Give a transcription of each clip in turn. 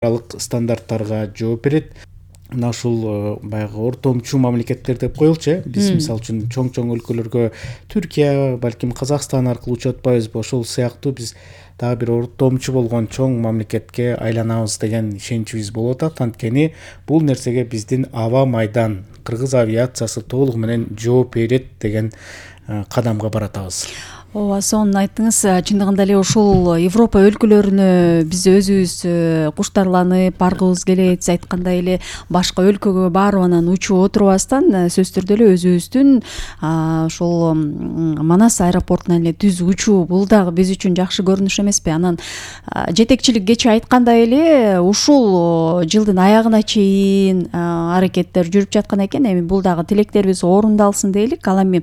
стандарттарга жооп берет. Мына ушул баягы ортомчу мамлекеттер деп коелучу. Биз мисалы үчүн чоң өлкөлөргө Түркия, балким Казакстан аркылуу учуп атпайбызбы? Ошол сыяктуу биз дагы бир ортомчу болгон чоң мамлекетке айланабыз деген ишеничибиз болуп атат. Анткени бул нерсеге биздин аба майдан, кыргыз авиациясы толугу менен жооп берет деген кадамга баратабыз. Ооба, сонун айттыңыз. Чындыгында эле ушул Европа өлкөлөрүнө биз өзүбүз куштарланып баргыбыз келет. Сиз айткандай эле башка өлкөгө барып анан учуп отурбастан сөзсүз түрдө эле өзүбүздүн ушул Манас аэропортуна эле түз учуу бул дагы биз үчүн жакшы көрүнүш эмеспи? Анан жетекчилик кечээ айткандай эле ушул жылдын аягына чейин аракеттер жүрүп жаткан экен. Эми бул дагы тилектерибиз орундалсын дейли. Ал эми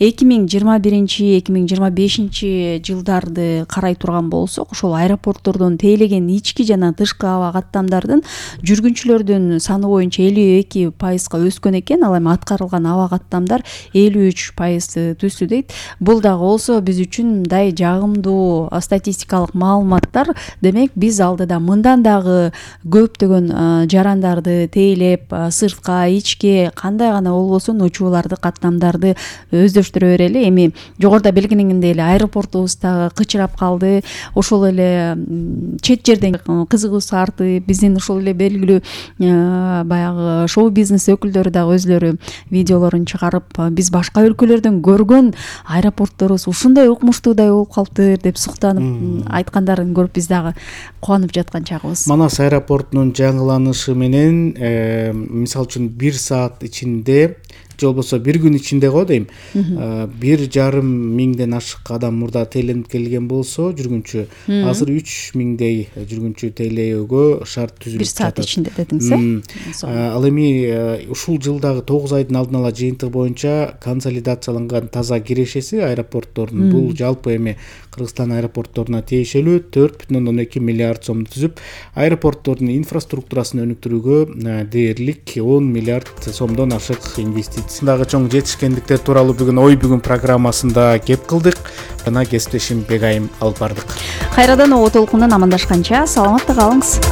2021-2025 жылдарды карай турган болсок, ошол аэропорттордон тейлеген ички жана тышкы аба каттамдардын жүргүнчүлөрдүн саны боюнча 52%га өскөн экен. Ал эми аткарылган аба каттамдар 53% түздү дейт. Бул дагы болсо биз үчүн мындай жагымдуу статистикалык маалыматтар. Демек биз алдыда мындан дагы көптөгөн жарандарды тейлеп, сыртка, ичке кандай гана болбосун учууларды, каттамдарды өздөштүрө берели. Эми жогоруда белгиленгендей эле аэропортубуз дагы кычырап калды. Ошол эле чет жерден кызыгуусу артып, биздин ушул эле белгилүү баягы шоу-бизнес өкүлдөрү дагы өзлөрү видеолорун чыгарып, биз башка өлкөлөрдөн көргөн аэропортторубуз ушундай укмуштуудай болуп калыптыр деп суктанып айткандарын көрүп биз дагы кубанып жаткан чагыбыз. Манас аэропортунун жаңыланышы менен мисалы үчүн 1 саат ичинде же болбосо 1 күн ичинде го дейм, 1,5 миңден ашык адам мурда тейленип келген болсо, жүргүнчү азыр 3 миңдей жүргүнчү тейлөөгө шарт түзүлүп жатат. 1 саат ичинде дедиңиз, Ал эми ушул жылдагы 9 айдын алдын ала жыйынтыгы боюнча консолидацияланган таза кирешеси аэропорттордун бул жалпы эми Кыргызстан аэропортторуна тиешелүү 4,2 миллиард сомду түзүп, аэропорттордун инфраструктурасын өнүктүрүүгө дээрлик 10 миллиард сомдон ашык инвестициядагы чоң жетишкендиктер тууралуу бүгүн ой бүгүн программасында кеп кылдык. Жана кесиптешим Бегайым алып бардык. Кайрадан оо толкундан амандашканча саламатта калыңыз.